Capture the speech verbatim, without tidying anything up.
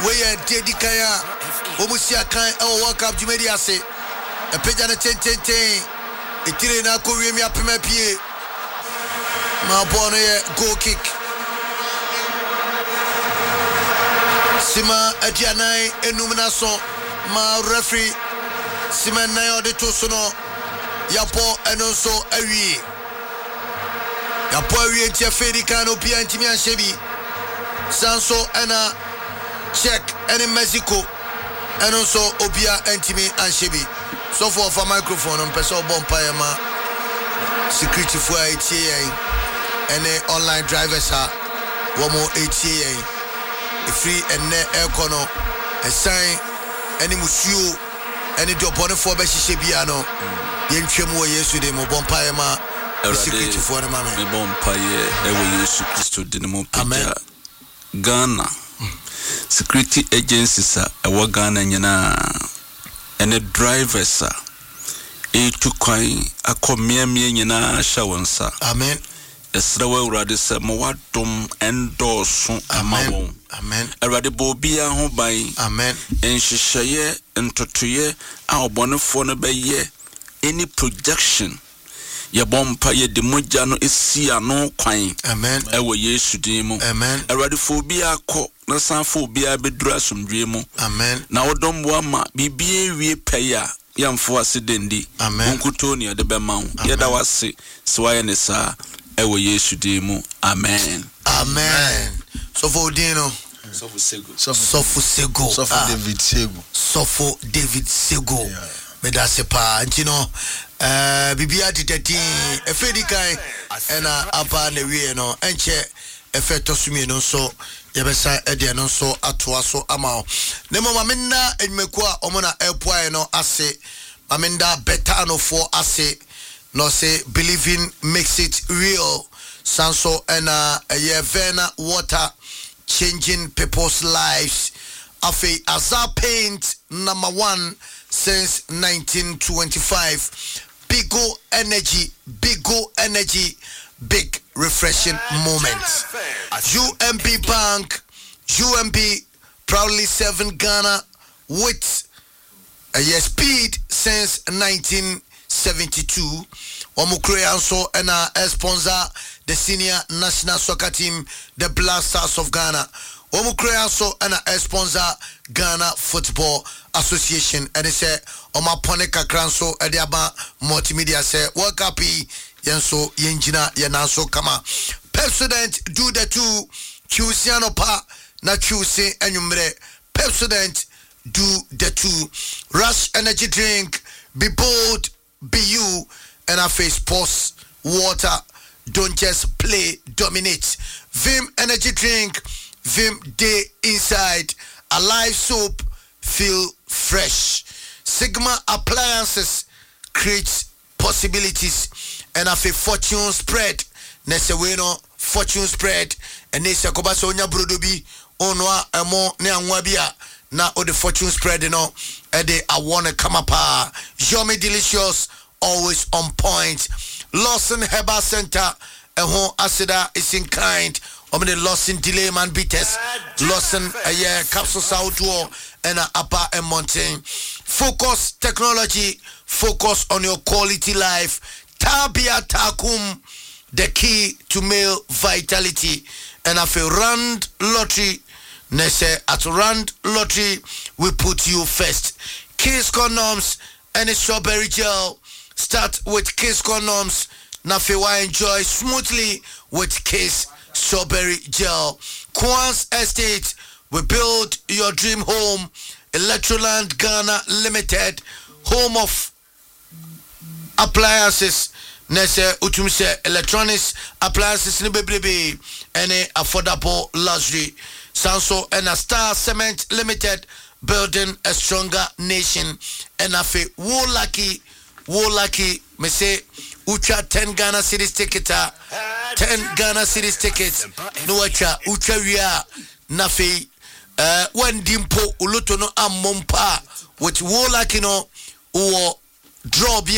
Wei yɛ deɛ di kan a wɔn si akan ɛwɔ World Cup dwumadi ase. Ɛpagya no tententen, etire no akɔ wiem, apem apue ma bɔɔl no yɛ goal kick. Sima aduanan enum n'aso ma referee sima nnan a ɔde to so no, yɛabɔ ɛno nso awie. Yɛabɔ awie, nti afei di kan no obiara ntumi anhyɛ bi. San so ɛna Czech ɛne Mexico, ɛno nso obiara ntumi anhyɛ bi. Sɔfo, ɔfa microphone no, mpɛ sɛ ɔbɔ mpaeɛ ma securityfoɔ a ɛtie yɛn ɛne online drivers a wɔn ɛtie yɛn. Ɛfiri ɛnnɛ ɛrekɔ no, ɛsan ɛne musuo ɛne deɛ ɔbɔnefoɔ bɛhyehyɛ bia no, yɛntwam wɔ Yesu de mu. Bɔ mpaeɛ ma securityfoɔ no ma me. Mebɔ mpaeɛ ɛwɔ Yesu Kristo din mu. Amen. Pagya Ghana security agencies a ɛwɔ Ghana nyinaa ɛne drivers a ɛretu kwan akɔ mmeammea nyinaa hyɛ wɔn nsa. Amen. Ɛsrɛ wɔ Awurade sɛ ma wadom ɛndɔɔso ama Amen. wɔn. Amen. Awurade, bɔ obiara ho ban. Amen. Nhyehyɛeɛ ntotoeɛ a ɔbɔnefoɔ no bɛyɛ, any projection, yɛbɔ mpa, yɛde mogya no esi ano kwan Amen. ɛwɔ Yesu din mu. Amen. Awurade, fa obiara kɔ na san fa obiara bɛduru asomdwoe mu. Amen. Na wodɔm boa ma biribiara wie pɛyɛ a yɛmfo ase dendi. Amen. Wo nkutoo ne yɛde bɛma wo. Yɛda wo ase sɛ woayɛ ne saa ɛwɔ Yesu din mu, amen. Amen. Sɔfo, odin no? Sɔfo Sego. Sɔfo Sego. Sɔfo. Ah. David Sego. Sɔfo David Sego, meda ase paa. Nti no ɛɛ biribiara deda din. Ɛfɛ di kan ɛna aba na wie no, ɛnkyɛ ɛfɛ ɛtɔ so mmienu nso yɛbɛsa ɛde ɛno nso atoa so ama wo. Ne mmom, maame nna adwumakuo a ɔmo na ɛpoaeɛ no ase. Maame nda Betanofoɔ ase na ɔsɛ "Believing makes it real". San so ɛna ɛyɛ Vena Water, changing people's lives. Afei Azar Paint, number one since nineteen twenty-five. Bigo Energy, Bigo Energy, big refreshing moment. U M B Bank, U M B, proudly serving Ghana with uh, yes, speed since nineteen seventy-two. Wɔn kuro ya nso ɛna sponsor the senior national soccer team, the Black Stars of Ghana. Wɔn kuro ya nso ɛna sponsor Ghana Football Association. Ɛne sɛ wɔn apɔne kakra nso ɛde aba multimedia sɛ World Cup yi, yɛn nso yɛn gyina yɛn nan so kama. Pepsodent, do the two. Twiw anɔpa na twiw se anwummerɛ. Pepsodent, do the two. Rush Energy Drink, be bold, be you. And afei Sports Water, don't just play, dominate. Vim Energy Drink, vim day inside. Alive Soap, feel fresh. Sigma Appliances creates possibilities. And afei Fortune Spread, na sɛ wei no Fortune Spread ɛne sɛ kɔba sɛ onya brodo bi ɔnoa ɛmo ne anwa bi a, na wode Fortune Spread no ɛde awɔ no kama paa. Yummy, delicious, always on point. Lawson Herbal Center, ɛho aseda is in kind. Wɔn de Lawson Delay Man Bitters, Lawson ɛyɛ capsules ahodoɔ ɛna aba mmɔnten. Focus Technology, focus on your quality life. Tabia Takum, the key to male vitality. And afei Rand Lottery, na sɛ at Rand Lottery, we put you first. Kiss Condoms ɛne strawberry gel. Start with Kiss Condoms na afei wa enjoy smoothly with Kiss Strawberry Gel. Kwans Estate, we build your dream home. Electroland Ghana Limited, home of appliances, na sɛ wotum sɛ electronics appliances no bebrebe ɛne affordable luxury. San so ɛna Star Cement Limited, building a stronger nation. Ɛna afei wo lucky, wo lucky me say wotwa ten Ghana cedis ticket a, ten Ghana cedis ticket na watwa. Wotwa wie a, na afei uh, wandi mpo, wo lotto no ammɔ mpo a, with wo lucky no wowɔ draw bi.